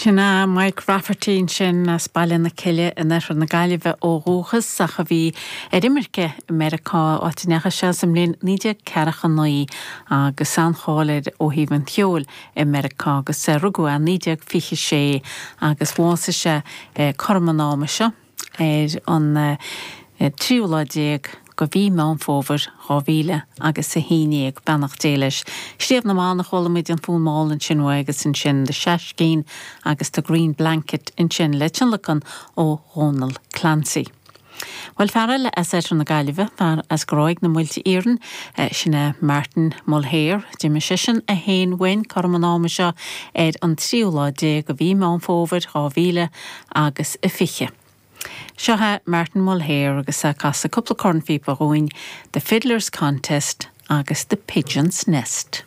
Sin é Mike Rafferty ansin as Baile na Cille in oirthear na Gaillimhe ó dhúchas ach a bhí ar imirce i Meiriceá, áit a ndeachaigh sé sa mbliain 1949 agus an-cháil air ó thaobh an cheoil i Meiriceá agus rugadh é i 1926 agus bhásaigh sé cothrom an ama seo. ar an tríú lá déag de mhí Meán Fómhair 2000 agus 11, beannacht Dé leis. Sliabh na mBan a chuala muid an fonn mall ansin uaidh agus ansin The Seaiskeen agus The Green Blanket ansin le tionlacan ó Dhónal Clancy. Bhuel, fear eile as oirthear na Gaillimhe, fear as Gráig na Muilte Iarainn, sin é Martin Mulhare. D'imigh seisean é féin uainn cothrom an ama seo ar an tríú lá déag de mhí Meán Fómhair 2000 agus a 20. Seo é Martin Mulhare agus é ag casadh cúpla cornphíopa dhúinn, The Fiddler's Contest agus The Pigeon's Nest.